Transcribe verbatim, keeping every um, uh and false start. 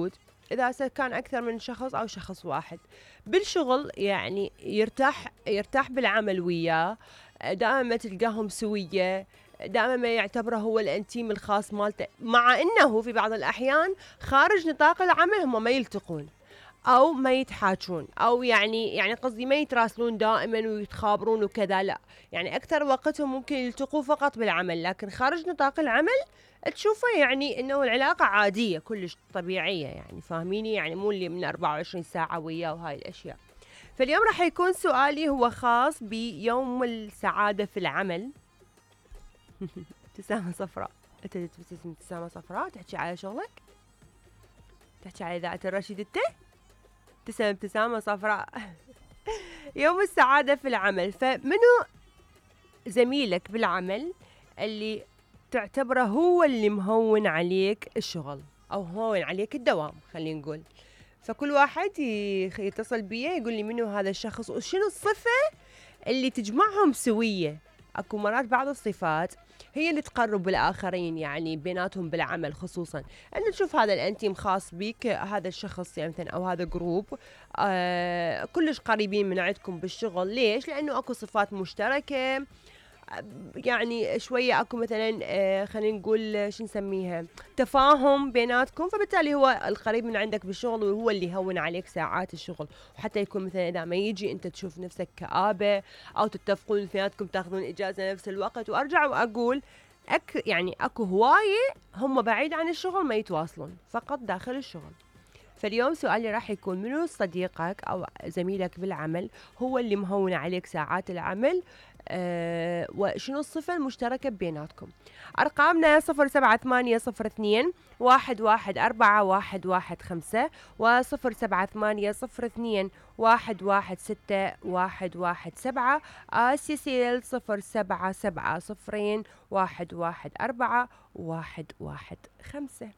موجود، إذا كان أكثر من شخص أو شخص واحد. بالشغل يعني يرتاح يرتاح بالعمل وياه، دائما ما تلقاهم سوية، دائما ما يعتبره هو الانتيم الخاص مالته، مع انه في بعض الاحيان خارج نطاق العمل هم ما يلتقون او ما يتحاجون، او يعني يعني قصدي ما يتراسلون دائما ويتخابرون وكذا، لا يعني اكثر وقتهم ممكن يلتقوا فقط بالعمل، لكن خارج نطاق العمل تشوفه يعني انه العلاقة عادية كلش طبيعية، يعني فاهميني، يعني مو اللي من أربعة وعشرين ساعة وياه وهاي الاشياء. فاليوم راح يكون سؤالي هو خاص بيوم السعادة في العمل. ابتسامة صفراء، انت تبتسم ابتسامة صفراء تحكي على شغلك، تحكي على إذاعة الرشيد، انت ابتسم ابتسامة صفراء. يوم السعادة في العمل، فمنو زميلك بالعمل اللي تعتبره هو اللي مهون عليك الشغل او مهون عليك الدوام خلينا نقول؟ فكل واحد يتصل بي يقول لي منو هذا الشخص وشنو الصفة اللي تجمعهم سوية. اكو مرات بعض الصفات هي اللي تقرب الآخرين يعني بيناتهم بالعمل، خصوصا أن تشوف هذا الأنتيم خاص بيك، هذا الشخص يعني مثلا أو هذا جروب آه كلش قريبين من عندكم بالشغل. ليش؟ لأنه أكو صفات مشتركة، يعني شوية أكو مثلا آه خلينا نقول شو نسميها تفاهم بيناتكم، فبالتالي هو القريب من عندك بالشغل وهو اللي يهون عليك ساعات الشغل. وحتى يكون مثلا إذا ما يجي أنت تشوف نفسك كآبة أو تتفقون اثنيناتكم تاخذون إجازة نفس الوقت. وأرجع وأقول أك يعني أكو هواية هم بعيد عن الشغل ما يتواصلون، فقط داخل الشغل. فاليوم سؤالي راح يكون منو صديقك أو زميلك بالعمل هو اللي مهون عليك ساعات العمل، أه وشنو الصفة المشتركة بيناتكم؟ أرقامنا صفر سبعة ثمانية صفر اثنين واحد واحد أربعة واحد واحد خمسة وصفر سبعة ثمانية صفر اثنين واحد واحد ستة واحد واحد سبعة. سيسيل صفر سبعة سبعة صفرين واحد واحد أربعة واحد واحد خمسة.